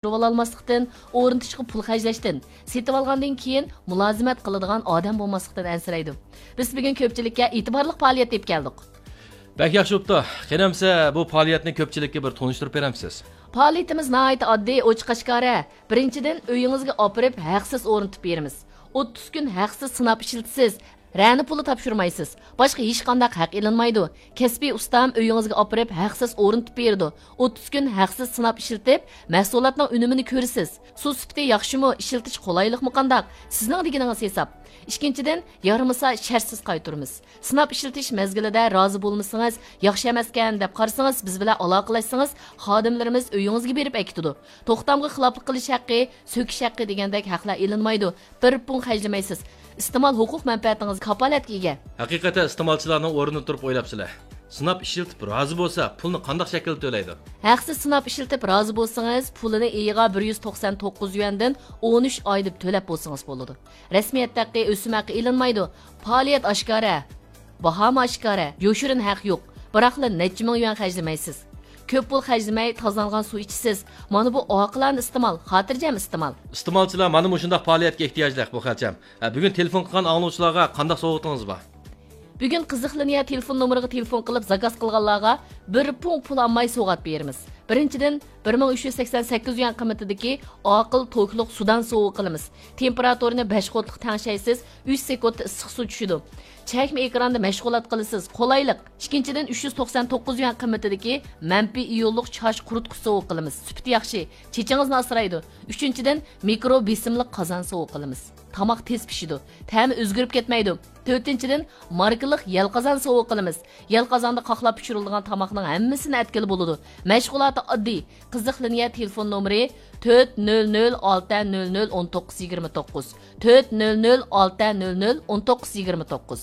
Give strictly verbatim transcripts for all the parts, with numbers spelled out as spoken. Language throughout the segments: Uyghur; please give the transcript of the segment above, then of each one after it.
تاپشۇرۇۋالالماسلىقتىن، ئورنىتىشقا پۇل خەجلەشتىن، سېتىۋالغاندىن كېيىن مۇلازىمەت قىلىدىغان ئادەم بولماسلىقتىن ئەنسىرەيدۇ. بىز بۈگۈن كۆپچىلىككە ئېتىبارلىق پائالىيەت ئېلىپ كەلدۇق. بەك ياخشى بوپتۇ. قېنى ئەمسە بۇ پائالىيەتنى كۆپچىلىككە بىر تونۇشتۇرۇپ بېرەمسىز؟ پائالىيىتىمىز ناھايىتى ئاددىي، ئوچۇق ئاشكارا. بىرىنچىدىن، ئۆيىڭىزگە ئاپىرىپ ھەقسىز ئورنىتىپ بېرىمىز. ئوتتۇز كۈن ھەقسىز سىناپ ئىشلىتىسىز. رەنە پۇلى تاپشۇرمايسىز. باشقا ھېچقانداق ھەق ئېلىنمايدۇ. كەسپىي ئۇستام ئۆيىڭىزگە ئاپىرىپ ھەقسىز ئورنىتىپ بېرىدۇ. ئوتتۇز كۈن ھەقسىز سىناپ ئىشلىتىپ، مەھسۇلاتنىڭ ئۈنۈمىنى كۆرىسىز. سۇ سۈپىتى ياخشىمۇ، ئىشلىتىش قولايلىقمۇ قانداق؟ سىزنىڭ دېگىنىڭىز ھېساب. ئىككىنچىدىن، يارىمىسا شەرتسىز قايتۇرىمىز. سىناپ ئىشلىتىش مەزگىلىدە رازى بولمىسىڭىز، ياخشى ئەمەسكەن دەپ قارىسىڭىز، بىز بىلەن ئالاقىلەشسىڭىز، خادىملىرىمىز ئۆيىڭىزگە بېرىپ ئەكېتىدۇ. توختامغا خىلاپلىق قىلىش ھەققى، سۆكۈش ھەققى دېگەندەك ھەقلەر ئېلىنمايدۇ. بىر پۇڭ خەجلىمەيسىز. ئىستېمال ھوقۇق مەنپەئەتىڭىز كاپالەتكە ئىگە. ھەقىقەتەن ئىستېمالچىلارنىڭ ئورنىدا تۇرۇپ ئويلاپسىلەر. سىناپ ئىشلىتىپ رازى بولسا، پۇلنى قانداق شەكىلدە تۆلەيدۇ؟ ھەقسىز سىناپ ئىشلىتىپ رازى بولسىڭىز، پۇلىنى ئېيىغا بىر يۈز توقسان توققۇز يۈەندىن ئون ئۈچ ئاي دەپ تۆلەپ بولسىڭىز بولىدۇ. رەسمىيەت ھەققى، ئۆسۈم ھەققى ئېلىنمايدۇ. پائالىيەت ئاشكارا. باھامۇ ئاشكارا. يوشۇرۇن ھەق يوق. بىراقلا نەچچە مىڭ يۈەن خەجلىمەيسىز. كۆپ پۇل خەجلىمەي، تازىلانغان سۇ ئىچىسىز. مانا بۇ ئاقىلانە ئىستېمال، خاتىرجەم ئىستېمال. ئىستېمالچىلار مانا مۇشۇنداق پائالىيەتكە ئېھتىياجلىق، بۇ خەلچەم. ھە، بۈگۈن تېلېفون قىلغان ئاڭلىغۇچىلارغا قانداق سوۋغىتىڭىز بار؟ بۈگۈن قىزىق لىنىيە تېلېفون نومۇرىغا تېلېفون قىلىپ زاكاز قىلغانلارغا بىر پۇڭ پۇل ئالماي سوۋغات بېرىمىز. بىرىنچىدىن، بىر مىڭ ئۈچ يۈز سەكسەن سەككىز يۈەن قىممىتىدىكى ئاقىل توكلۇق سۇدان سوۋغا قىلىمىز. تېمپېراتۇرىنى بەش ۋولتلۇق تەڭشەيسىز، ئۈچ سېكۇنتتا ئىسسىق سۇ چۈشىدۇ. چەكمە ئېكراندا مەشغۇلات قىلىسىز، قولايلىق. ئىككىنچىدىن، ئۈچ يۈز توقسان توققۇز يۈەن قىممىتىدىكى مەنپىي ئىيونلۇق چاچ قۇرۇتقۇچ سوۋغا قىلىمىز. سۈپىتى ياخشى، چېچىڭىزنى ئاسرايدۇ. ئۈچىنچىدىن، مىكرو بېسىملىق قازان سوۋغا قىلىمىز. تاماق تېز پىشىدۇ، تەمى ئۆزگىرىپ كەتمەيدۇ. تۆتىنچىدىن، ماركىلىق يەل قازان سوۋغا قىلىمىز. يەل قازاندا قاقلاپ پىشۇرۇلىدىغان تاماقنىڭ ھەممىسىنى ئەتكىلى بولىدۇ. مەشغۇلاتى ئاددىي. قىزىق لىنىيە تېلېفون نومۇرى تۆت نۆل نۆل ئالتە نۆل نۆل ئون توققۇز يىگىرمە توققۇز، تۆت نۆل نۆل ئالتە نۆل نۆل ئون توققۇز يىگىرمە توققۇز.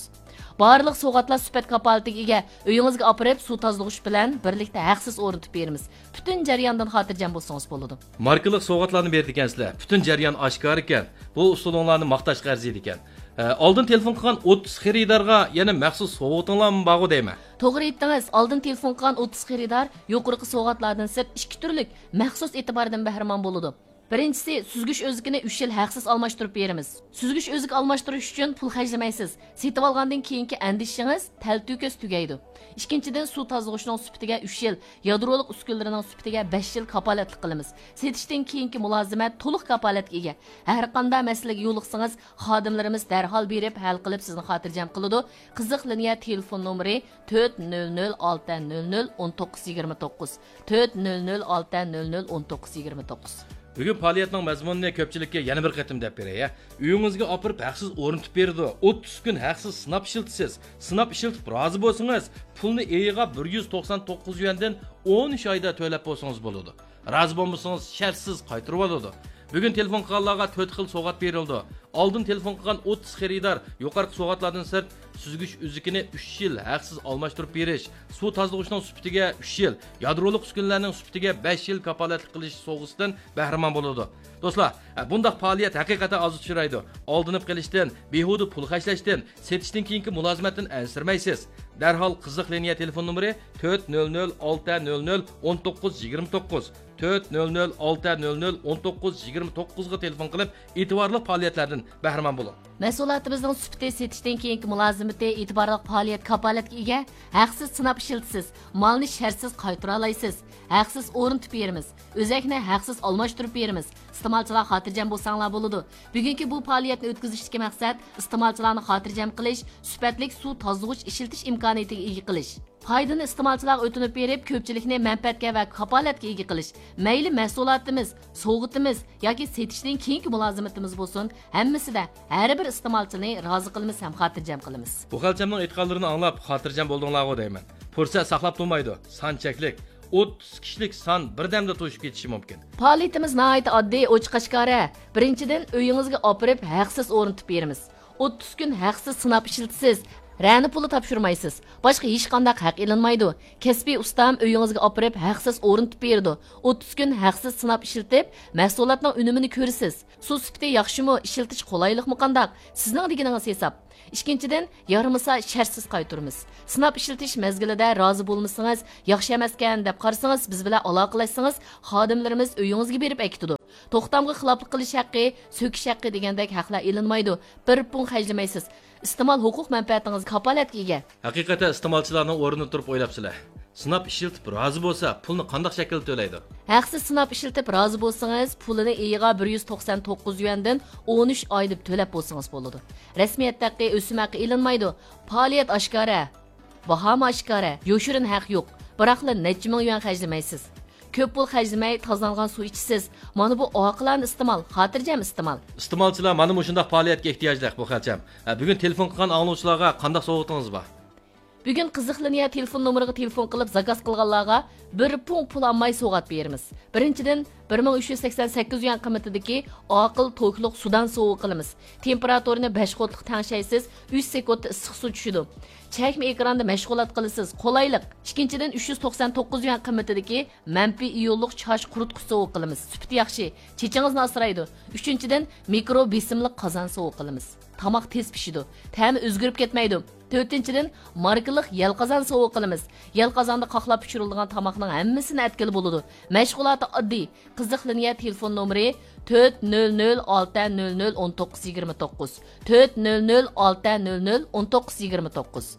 بارلىق سوۋغاتلار سۈپەت كاپالىتىگە ئىگە. ئۆيىڭىزگە ئاپىرىپ، سۇ تازىلىغۇچ بىلەن بىرلىكتە ھەقسىز ئورنىتىپ بېرىمىز. پۈتۈن جەرياندىن خاتىرجەم بولسىڭىز بولىدۇ. ماركىلىق سوۋغاتلارنى بېرىدىكەنسىلەر. پۈتۈن جەريان ئاشكارا ئىكەن. بۇ ئۇسۇلۇڭلارنى ماختاشقا ئەرزىيدىكەن. ئە، ئالدىن تېلېفون قىلغان ئوتتۇز خېرىدارغا يەنە مەخسۇس سوۋغىتىڭلارمۇ بارغۇ دەيمەن. توغرا ئېيتتىڭىز، ئالدىن تېلېفون قىلغان ئوتتۇز خېرىدار يۇقىرىقى سوۋغاتلاردىن سىرت ئىككى تۈرلۈك مەخسۇس ئېتىباردىن بەھرىمەن بولىدۇ. بىرىنچىسى، سۈزگۈچ ئۆزىكىنى ئۈچ يىل ھەقسىز ئالماشتۇرۇپ بېرىمىز. سۈزگۈچ ئۆزۈك ئالماشتۇرۇش ئۈچۈن پۇل خەجلىمەيسىز. سېتىۋالغاندىن كېيىنكى ئەندىشىڭىز تەلتۆكۈس تۈگەيدۇ. ئىككىنچىدىن، سۇ تازىلىغۇچنىڭ سۈپىتىگە ئۈچ يىل، يادرولۇق ئۈسكۈنىلىرىنىڭ سۈپىتىگە بەش يىل كاپالەتلىك قىلىمىز. سېتىشتىن كېيىنكى مۇلازىمەت تولۇق كاپالەتكە ئىگە. ھەر قانداق مەسىلىگە يولۇقسىڭىز، خادىملىرىمىز دەرھال بېرىپ ھەل قىلىپ سىزنى خاتىرجەم قىلىدۇ. قىزىق لىنىيە تېلېفون نومۇرى تۆت نۆل نۆل ئالتە نۆل نۆل ئون توققۇز يىگىرمە توققۇز، تۆت نۆل نۆل ئالتە نۆل نۆل ئون توققۇز يىگىرمە توققۇز. بۈگۈن پائالىيەتنىڭ مەزمۇنىنى كۆپچىلىككە يەنە بىر قېتىم دەپ بېرەي، ھە. ئۆيىڭىزگە ئاپىرىپ ھەقسىز ئورنىتىپ بېرىدۇ. ئوتتۇز كۈن ھەقسىز سىناپ ئىشلىتىسىز. سىناپ ئىشلىتىپ رازى بولسىڭىز، پۇلنى ئېيىغا بىر يۈز توقسان توققۇز يۈەندىن ئون ئۈچ ئايدا تۆلەپ بولسىڭىز بولىدۇ. رازى بولمىسىڭىز، شەرتسىز قايتۇرۇۋالىدۇ. بۈگۈن تېلېفون قىلغانلارغا تۆت خىل سوۋغات بېرىلىدۇ. ئالدىن تېلېفون قىلغان ئوتتۇز خېرىدار يۇقىرىقى سوۋغاتلاردىن سىرت سۈزگۈچ ئۈزۈكىنى ئۈچ يىل ھەقسىز ئالماشتۇرۇپ بېرىش، سۇ تازىلىغۇچنىڭ سۈپىتىگە ئۈچ يىل، يادرولۇق ئۈسكۈنىلەرنىڭ سۈپىتىگە بەش يىل كاپالەتلىك قىلىش سوۋغىسىدىن بەھرىمەن بولىدۇ. دوستلار، بۇنداق پائالىيەت ھەقىقەتەن ئاز ئۇچرايدۇ. ئالدىنىپ قېلىشتىن، بىھۇدە پۇل خەجلەشتىن، سېتىشتىن كېيىنكى مۇلازىمەتتىن ئەنسىرىمەيسىز. دەرھال قىزىق لىنىيە تېلېفون نومۇرى تۆت نۆل نۆل ئالتە نۆل نۆل ئون توققۇز يىگىرمە توققۇز، تۆت نۆل نۆل ئالتە نۆل نۆل ئون توققۇز يىگىرمە توققۇزغا تېلېفون قىلىپ، ئېتىبارلىق پائالىيەتلەردىن بەھرىمەن بولۇڭ. مەھسۇلاتىمىزنىڭ سۈپىتى، سېتىشتىن كېيىنكى مۇلازىمىتى، ئېتىبارلىق پائالىيەت كاپالەتكە ئىگە. ھەقسىز سىناپ ئىشلىتىسىز، مالنى شەرتسىز قايتۇرالايسىز. ھەقسىز ئورنىتىپ بېرىمىز. ئۆزەكنى ھەقسىز ئالماشتۇرۇپ بېرىمىز. ئىستېمالچىلار خاتىرجەم بولساڭلار بولىدۇ. بۈگۈنكى بۇ پائالىيەتنى ئۆتكۈزۈشتىكى مەقسەت ئىستېمالچىلارنى خاتىرجەم قىلىش، سۈپەتلىك سۇ تازىلىغۇچ ئىشلىتىش ئىمكانىيىتىگە ئىگە قىلىش. پايدىنى ئىستېمالچىلارغا ئۆتۈنۈپ بېرىپ، كۆپچىلىكنى مەنپەئەتكە ۋە كاپالەتكە ئىگە قىلىش. مەيلى مەھسۇلاتىمىز، سوۋغىتىمىز ياكى سېتىشتىن كېيىنكى مۇلازىمىتىمىز بولسۇن، ھەممىسىدە ھەر بىر ئىستېمالچىنى رازى قىلىمىز ھەم خاتىرجەم قىلىمىز. بۇ خەلچەمنىڭ ئېيتقانلىرىنى ئاڭلاپ خاتىرجەم بولدۇڭلارغۇ دەيمەن. پۇرسەت ساقلاپ تۇرمايدۇ، سان چەكلىك. ئوتتۇز كىشىلىك سان بىردەمدە توشۇپ كېتىشى مۇمكىن. پائالىيىتىمىز ناھايىتى ئاددىي، ئوچۇق ئاشكارا. بىرىنچىدىن، ئۆيىڭىزگە ئاپىرىپ ھەقسىز ئورنىتىپ بېرىمىز. ئوتتۇز كۈن ھەقسىز سىناپ ئىشلىتىسىز. رەنە پۇلى تاپشۇرمايسىز. باشقا ھېچقانداق ھەق ئېلىنمايدۇ. كەسپىي ئۇستام ئۆيىڭىزگە ئاپىرىپ ھەقسىز ئورنىتىپ بېرىدۇ. ئوتتۇز كۈن ھەقسىز سىناپ ئىشلىتىپ، مەھسۇلاتنىڭ ئۈنۈمىنى كۆرىسىز. سۇ سۈپىتى ياخشىمۇ، ئىشلىتىش قولايلىقمۇ قانداق؟ سىزنىڭ دېگىنىڭىز ھېساب. ئىككىنچىدىن، يارىمىسا شەرتسىز قايتۇرىمىز. سىناپ ئىشلىتىش مەزگىلىدە رازى بولمىسىڭىز، ياخشى ئەمەسكەن دەپ قارىسىڭىز، بىز بىلەن ئالاقىلەشسىڭىز، خادىملىرىمىز ئۆيىڭىزگە بېرىپ ئەكېتىدۇ. توختامغا خىلاپلىق قىلىش ھەققى، سۆكۈش ھەققى دېگەندەك ھەقلەر ئېلىنمايدۇ. بىر پۇڭ خەجلىمەيسىز. ئىستېمال ھوقۇق مەنپەئەتىڭىز كاپالەتكە ئىگە. ھەقىقەتەن ئىستېمالچىلارنىڭ ئورنىدا تۇرۇپ ئويلاپسىلەر. سىناپ ئىشلىتىپ رازى بولسا، پۇلنى قانداق شەكىلدە تۆلەيدۇ؟ ھەقسىز سىناپ ئىشلىتىپ رازى بولسىڭىز، پۇلىنى ئېيىغا بىر يۈز توقسان توققۇز يۈەندىن ئون ئۈچ ئاي دەپ تۆلەپ بولسىڭىز بولىدۇ. رەسمىيەت ھەققى، ئۆسۈم ھەققى ئېلىنمايدۇ. پائالىيەت ئاشكارا، باھامۇ ئاشكارا، يوشۇرۇن ھەق يوق. بىراقلا نەچچە مىڭ يۈەن خەجلىمەيسىز. كۆپ پۇل خەجلىمەي، تازىلانغان سۇ ئىچىسىز. مانا بۇ ئاقىلانە ئىستېمال، خاتىرجەم ئىستېمال. ئىستېمالچىلار مانا مۇشۇنداق پائالىيەتكە ئېھتىياجلىق، بۇ خەلچەم. ھە، بۈگۈن تېلېفون قىلغان ئاڭلىغۇچىلارغا قانداق سوۋغىتىڭىز بار؟ بۈگۈن قىزىق لىنىيە تېلېفون نومۇرىغا تېلېفون قىلىپ زاكاز قىلغانلارغا بىر پۇڭ پۇل ئالماي سوۋغات بېرىمىز. بىرىنچىدىن، بىر مىڭ ئۈچ يۈز سەكسەن سەككىز يۈەن قىممىتىدىكى ئاقىل توكلۇق سۇدان سوۋغا قىلىمىز. تېمپېراتۇرىنى بەش قوتلۇق تەڭشەيسىز، ئۈچ سېكۇنتتا ئىسسىق سۇ چۈشىدۇ. چەكمە ئېكراندا مەشغۇلات قىلىسىز، قولايلىق. ئىككىنچىدىن، ئۈچ يۈز توقسان توققۇز يۈەن قىممىتىدىكى مەنپىي ئىيونلۇق چاچ قۇرۇتقۇچ سوۋغا قىلىمىز. سۈپىتى ياخشى، چېچىڭىزنى ئاسرايدۇ. ئۈچىنچىدىن، مىكرو بېسىملىق قازان سوۋغا قىلىمىز. تاماق تېز پىشىدۇ، تەمى ئۆزگىرىپ كەتمەيدۇ. تۆتىنچىدىن، ماركىلىق يەل قازان سوۋغا قىلىمىز. يەل قازاندا قاقلاپ پىشۇرۇلىدىغان تاماقنىڭ ھەممىسىنى ئەتكىلى بولىدۇ. مەشغۇلاتى ئاددىي. قىزىق لىنىيە تېلېفون نومۇرى تۆت نۆل نۆل ئالتە نۆل نۆل ئون توققۇز يىگىرمە توققۇز، تۆت نۆل نۆل ئالتە نۆل نۆل ئون توققۇز يىگىرمە توققۇز.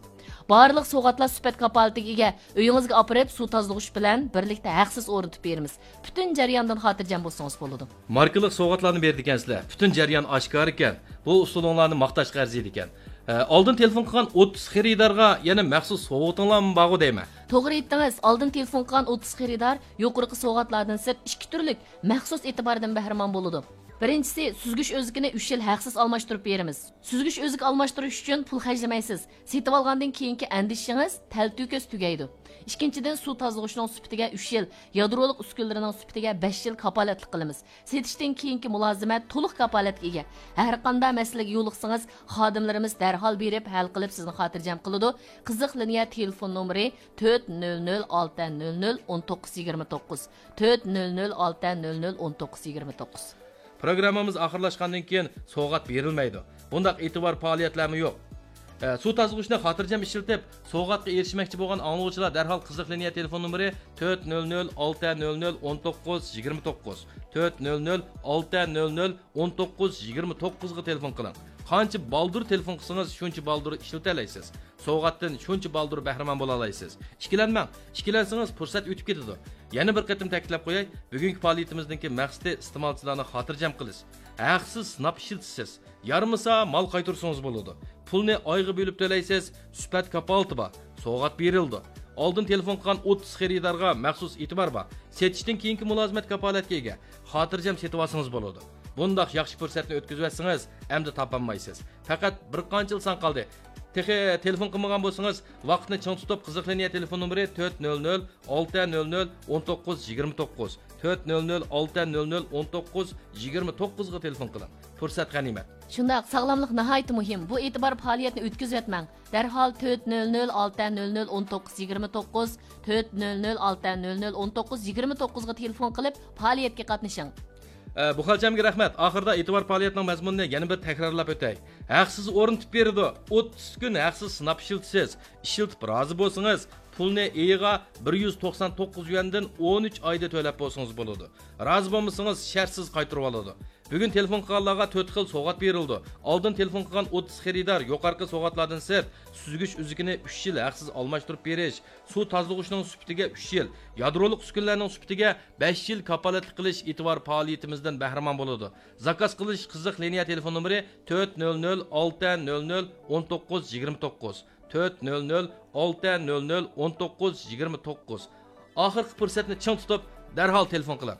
بارلىق سوۋغاتلار سۈپەت كاپالىتىگە ئىگە. ئۆيىڭىزگە ئاپىرىپ، سۇ تازىلىغۇچ بىلەن بىرلىكتە ھەقسىز ئورنىتىپ بېرىمىز. پۈتۈن جەرياندىن خاتىرجەم بولسىڭىز بولىدۇ. ماركىلىق سوۋغاتلارنى بېرىدىكەنسىلەر. پۈتۈن جەريان ئاشكارىكەن. بۇ ئۇسۇلۇڭلارنى ماختاشقا ئەرزىيدىكەن. ئە، ئالدىن تېلېفون قىلغان ئوتتۇز خېرىدارغا يەنە مەخسۇس سوۋغىتىڭلارمۇ بارغۇ دەيمەن. توغرا ئېيتتىڭىز، ئالدىن تېلېفون قىلغان ئوتتۇز خېرىدار يۇقىرىقى سوۋغاتلاردىن سىرت ئىككى تۈرلۈك مەخسۇس ئېتىباردىن بەھرىمەن بولىدۇ. بىرىنچىسى، سۈزگۈچ ئۆزىكىنى ئۈچ يىل ھەقسىز ئالماشتۇرۇپ بېرىمىز. سۈزگۈچ ئۆزىكى ئالماشتۇرۇش ئۈچۈن پۇل خەجلىمەيسىز. سېتىۋالغاندىن كېيىنكى ئەندىشىڭىز تەلتۆكۈس تۈگەيدۇ. ئىككىنچىدىن، سۇ تازىلىغۇچنىڭ سۈپىتىگە ئۈچ يىل، يادرولۇق ئۈسكۈنىلىرىنىڭ سۈپىتىگە بەش يىل كاپالەتلىك قىلىمىز. سېتىشتىن كېيىنكى مۇلازىمەت تولۇق كاپالەتكە ئىگە. ھەرقانداق مەسىلىگە يولۇقسىڭىز، خادىملىرىمىز دەرھال بېرىپ ھەل قىلىپ سىزنى خاتىرجەم قىلىدۇ. قىزىق لىنىيە تېلېفون نومۇرى تۆت نۆل نۆل ئالتە نۆل نۆل ئون توققۇز يىگىرمە توققۇز، تۆت نۆل نۆل ئالتە نۆل نۆل ئون توققۇز يىگىرمە توققۇز. پروگراممىمىز ئاخىرلاشقاندىن كېيىن سوۋغات بېرىلمەيدۇ. بۇنداق ئېتىبار پائالىيەتلەرمۇ يوق. ئە، سۇ تازىلىغۇچنى خاتىرجەم ئىشلىتىپ، سوۋغاتقا ئېرىشمەكچى بولغان ئاڭلىغۇچىلار دەرھال قىزىق لىنىيە تېلېفون نومۇرى تۆت نۆل نۆل ئالتە نۆل نۆل ئون توققۇز يىگىرمە توققۇز، تۆت نۆل نۆل ئالتە نۆل نۆل ئون توققۇز يىگىرمە توققۇزغا تېلېفون قىلىڭ. قانچە بالدۇر تېلېفون قىلسىڭىز، شۇنچە بالدۇر ئىشلىتەلەيسىز. سوۋغاتتىن شۇنچە بالدۇر بەھرىمەن بولالايسىز. ئىككىلەنمەڭ، ئىككىلەنسىڭىز پۇرسەت ئۆتۈپ كېتىدۇ. يەنە بىر قېتىم تەكىتلەپ قوياي، بۈگۈنكى پائالىيىتىمىزنىڭكى مەقسىتى ئىستېمالچىلارنى خاتىرجەم قىلىش. ھەقسىز سىناپ ئىشلىتىسىز. يارىمىسا مال قايتۇرسىڭىز بولىدۇ. پۇلنى ئايغا بۆلۈپ تۆلەيسىز، سۈپەت كاپالىتى بار، سوۋغات بېرىلىدۇ. ئالدىن تېلېفون قىلغان ئوتتۇز خېرىدارغا مەخسۇس ئېتىبار بار. سېتىشتىن كېيىنكى مۇلازىمەت كاپالەتكە ئىگە. خاتىرجەم سېتىۋالسىڭىز بولىدۇ. بۇنداق ياخشى پۇرسەتنى ئۆتكۈزۈۋەتسىڭىز، ئەمدى تاپالمايسىز. پەقەت بىر قانچىلا سان قالدى. تېخى تېلېفون قىلمىغان بولسىڭىز، ۋاقىتنى چىڭ تۇتۇپ، قىزىق لىنىيە تېلېفون نومۇرى تۆت نۆل نۆل ئالتە نۆل نۆل ئون توققۇز يىگىرمە توققۇز، تۆت نۆل نۆل ئالتە نۆل نۆل ئون توققۇز يىگىرمە توققۇزغا تېلېفون قىلىڭ. پۇرسەت غەنىيمەت. شۇنداق، ساغلاملىق ناھايىتى مۇھىم. بۇ ئېتىبار پائالىيەتنى ئۆتكۈزۈۋەتمەڭ. دەرھال تۆت نۆل نۆل ئالتە نۆل نۆل ئون توققۇز يىگىرمە توققۇز، تۆت نۆل نۆل ئالتە نۆل نۆل ئون توققۇز يىگىرمە توققۇزغا تېلېفون قىلىپ، پائالىيەتكە قاتنىشىڭ. ئە، بۇ خەلچەمگە رەھمەت. ئاخىرىدا ئېتىبار پائالىيەتنىڭ مەزمۇنىنى يەنە بىر تەكرارلاپ ئۆتەي. ھەقسىز ئورنىتىپ بېرىدۇ. ئوتتۇز كۈن ھەقسىز سىناپ ئىشلىتىسىز. ئىشلىتىپ رازى بولسىڭىز، پۇلنى ئېيىغا بىر يۈز توقسان توققۇز يۈەندىن ئون ئۈچ ئايدا تۆلەپ بولسىڭىز بولىدۇ. رازى بولمىسىڭىز، شەرتسىز قايتۇرۇۋالىدۇ. بۈگۈن تېلېفون قىلغانلارغا تۆت خىل سوۋغات بېرىلىدۇ. ئالدىن تېلېفون قىلغان ئوتتۇز خېرىدار يۇقىرىقى سوۋغاتلاردىن سىرت، سۈزگۈچ ئۈزۈكىنى ئۈچ يىل ھەقسىز ئالماشتۇرۇپ بېرىش، سۇ تازىلىغۇچنىڭ سۈپىتىگە ئۈچ يىل، يادرولۇق ئۈسكۈنىلەرنىڭ سۈپىتىگە بەش يىل كاپالەتلىك قىلىش ئېتىبار پائالىيىتىمىزدىن بەھرىمەن بولىدۇ. زاكاز قىلىش قىزىق لىنىيە تېلېفون نومۇرى تۆت نۆل نۆل ئالتە نۆل نۆل ئون توققۇز يىگىرمە توققۇز، تۆت نۆل نۆل ئالتە نۆل نۆل ئون توققۇز يىگىرمە توققۇز. ئاخىرقى پۇرسەتنى چىڭ تۇتۇپ، دەرھال تېلېفون قىلىڭ.